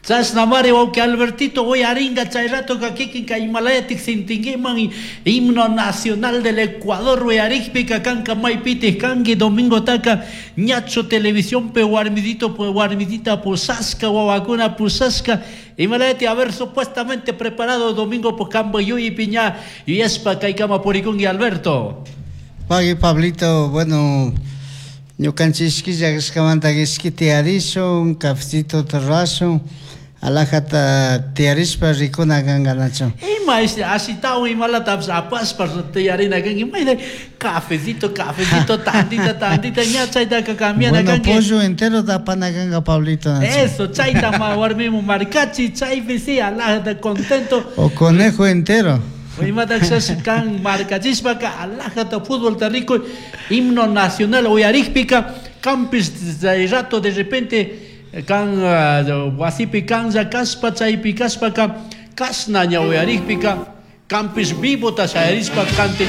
Chashnamari wawqi Albertito uyaringa chay ratoka kikinka imalayatik sintinkiman himno nacional del Ecuador uyarikpika kanka maypitik kanki domingotaka ñachu televisionpi warmidito warmidita pushashka wawakuna pushashka imalayati haber supuestamente preparado domingo po kampa yuyaypi ña yuyashpa kaykama purikunki, Alberto. Pagui, Pablito. Bueno, ñukanchik killa ishki tiyarishun, cafecito rurashun, alajata tiyarishpa rikuna kanka, nachu? Ima ashitawan imalatapish apashpa tiyarina kanki, mayna cafecito, cafecito, tantita, tantita, ña chaytaka cambiana Bueno, kanki. Pollo entero apana kanka, Pablito, nachu? Eso, chayta warmimu marcachi, chaypi sí, alajata contento. O conejo entero. Imata kan marcachishpaka alajata futbolta rikuy, himno nacional uyarikpika kampis chay rato de repente kan wasipi kanlla kashpa chaypi kashpaka kashna ña uyarikpika kampis vivota shayarishpa cante.